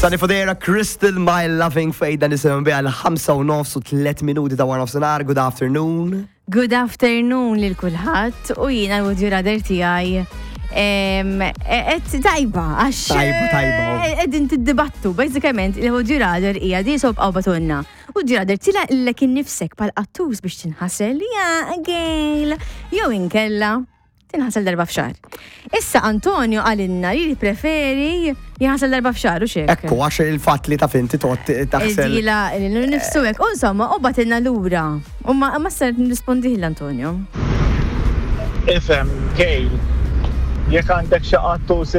Sani Fodera, Crystal, My Loving Fate, dan nisimgħu biha l-5 u nofs u 3 minuti ta' wara nofsinhar. Good afternoon. Good afternoon lil kulħadd u jiena l-would you rather tiegħi qed tajba għax Tajba, tajba. Qegħdin tiddibattu bażikament il-would you rather hija di sob qaw batunna. Would you rather tilaqlek innifsek pal qattus biex tinħasel ja gejl jew inkella tinħasel darba f'xahar. Issa Antonio qalilna li jippreferi jinħasel darba f'xahar u xek. Ekku, għax il-fatt li taf inti toqgħod taħsel. Dila nifsu hekk. U insomma, u batilna lura. U ma ma ser nirrispondih l-Antonio. Ifhem, Kejl, jekk għandek xi qattus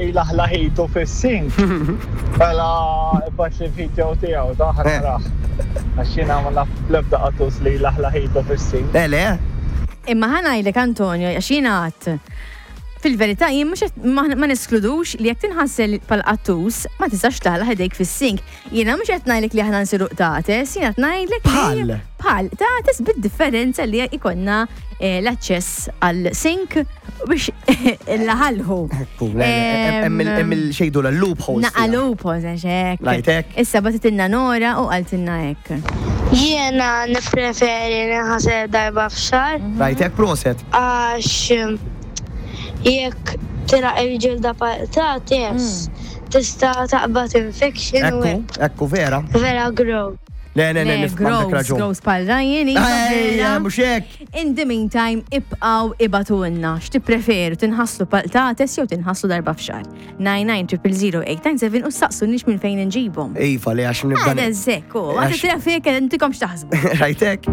ilaħlaħitu fis-sink, mela ibgħatli video tiegħu ta' ħa narah. Għax jiena ma naf bl-ebda qattus li jlaħlaħitu fis-sink. Le, le. Imma ħa ngħidlek Antonio, għax jiena għadt, fil-verità jien mhux qed ma neskludux li jekk tinħasel bħal qattus ma tistax tagħlaq idejk fis-sink. Jiena mhux qed ngħidlek li aħna nsiru qtates, jiena qed ngħidlek li Bħal. Bħal qtates bid-differenza li jkollna eh, l-aċċess għal sink biex laħalħu. Ekku, le, le, hemm il- hemm il-xejdu l-loopholes. Naqa loopholes, għax hekk. Ngħid hekk. Issa bagħtitilna Nora u qaltilna hekk. Jiena nippreferi ninħasel darba f'xahar. Rajt hekk proset. Għax jekk tilaq il-ġilda patates tista' taqbad infection u Ekku, ekku vera. Vera gross. Le, le, le, nifhem għandek Gross, raġun. gross pal Ryan, iva Ejja, vera. mhux hekk. In the meantime, ibqgħu ibagħtulna x'tippreferu tinħaslu pal-qtates jew tinħaslu darba f'xahar. 99000897 u saqsunix minn fejn inġibhom. Iva, li għax nibda. Għada zekku, għada Għax- trafik, intikom x'taħsbu. Rajtek?